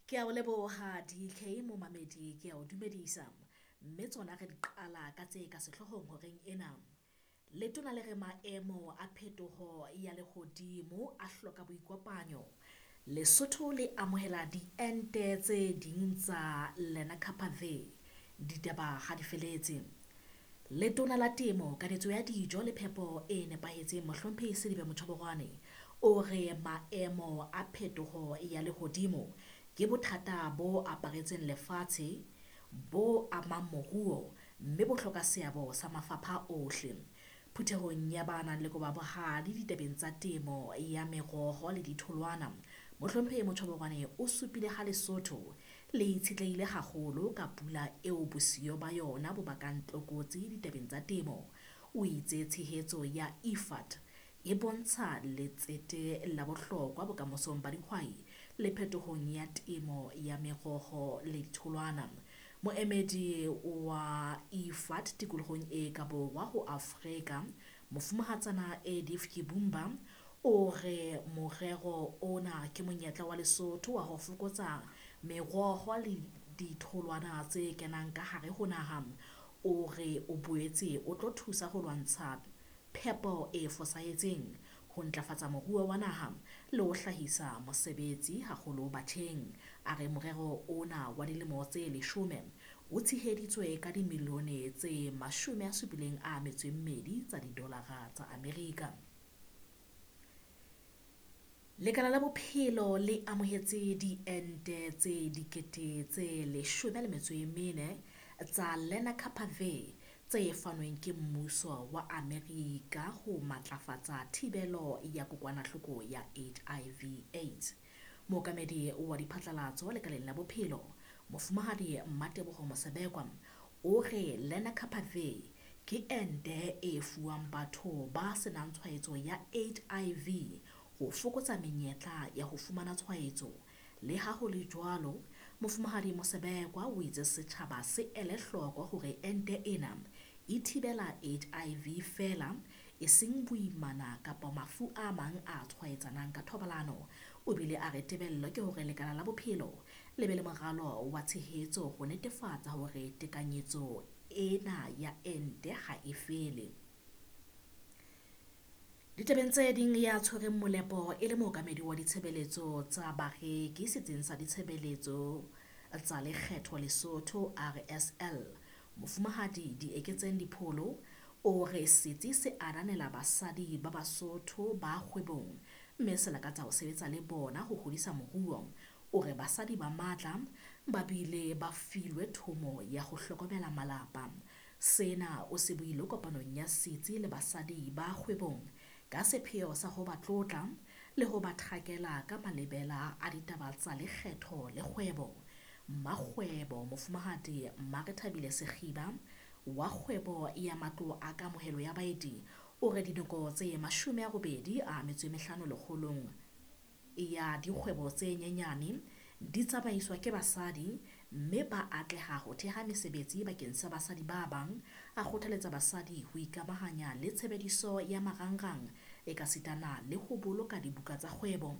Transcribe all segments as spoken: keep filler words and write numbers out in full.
Ke a o leboha D K momamedi, ke a o dumedisa. Mme tsona re di qala ka tse ka sehloohong horeng ena. Letona le re maemo a phetoho ya lehodimo a hloka boikopanyo. Lesotho le amohela diente tse ding tsa Lenacapavir. Ditaba ha di feletse. Letona la Temo, Kanetso ya Dijo le Phepo e Nepahetseng Mohlomphehi Selibe Mochoboroane o re maemo a phetoho ya lehodimo ke bothata bo aparetseng lefatshe bo amang moruo mme bo hloka seabo sa mafapha ohle. Phuthehong ya ba nang le koba bohale ditabeng tsa temo ya meroho le ditholwana, Mohlomphehi Mochoboroane o supile ha Lesotho le itshetlehile haholo ka pula eo bosiyo ba yona bo bakang tlokotsi ditabeng tsa temo. O itse tshehetso ya I F A D e bontsha letsete la bohlokwa bokamosong ba dihwai le phetohong ya temo ya meroho le ditholwana. Moemedi wa I F A D tikolohong e ka borwa ho Afrika, Mofumahatsana Edith Kibumba, o re morero ona ke monyetla wa Lesotho wa ho fokotsa meroho le ditholwana tse kenang ka hare ho naha. O re o boetse o tlo thusa ho lwantsha phepo e fosahetseng, ho ntlafatsa moruo wa naha le ho hlahisa mosebetsi haholo batjheng. A re morero ona wa dilemo tse leshome o tsheheditswe ka dimilione tse mashome a supileng a metso e mmedi tsa didolara tsa Amerika. Lekala la Bophelo le amohetse diente tse dikete tse leshome le metso e mene tsa Lenacapavir tse fanweng ke mmuso wa Amerika ho matlafatsa thibelo ya kokwanahloko ya H I V AIDS. Mookamedi wa diphatlalatso lekaleng la bophelo, Mofumahadi Mmateboho Mosebekwa, o re Lenacapavir ke ente e fuwang batho ba senang tshwaetso ya H I V ho fokotsa menyetla ya ho fumana tshwaetso. Le ha ho le jwalo, Mofumahadi Mosebekwa o itse setjhaba se ele hloko hore ente ena e thibela H I V feela, eseng boimana kapa mafu a mang a tshwaetsanang ka thobalano. O bile a re tebello ke hore lekala la bophelo le be le moralo wa tshehetso ho netefatsa hore tekanyetso ena ya ente ha e fele. Ditabeng tse ding, ya tshwereng molepo e le mookamedi wa ditshebeletso tsa bareki setsing sa ditshebeletso tsa lekgetho Lesotho R S L, Mofumahadi Dieketseng Dipholo, o re setsi se ananela basadi ba Basotho ba kgwebong mme se lakatsa ho sebetsa le bona ho hodisa moruo. O re basadi ba matla ba bile ba filwe thomo ya ho hlokomela malapa. Sena o se buile kopanong ya setsi le basadi ba kgwebong ka sepheo sa ho ba tlotla le ho ba thakela ka malebela a ditaba tsa lekgetho le kgwebo. Mmakgwebo Mofumahadi Mmarethabile Sekgiba wa kgwebo ya matlo a kamohelo ya baeti o re dinoko tse mashome a robedi a metso e mehlano lekgolong ya dikgwebo tse nyenyane di tsamaiswa ke basadi mme ba atleha ho theha mesebetsi bakeng sa basadi ba bang. A kgothaletsa basadi ho ikamahanya le tshebediso ya marangrang ekasitana le ho boloka dibuka tsa kgwebo.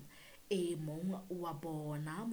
E mong wa bona.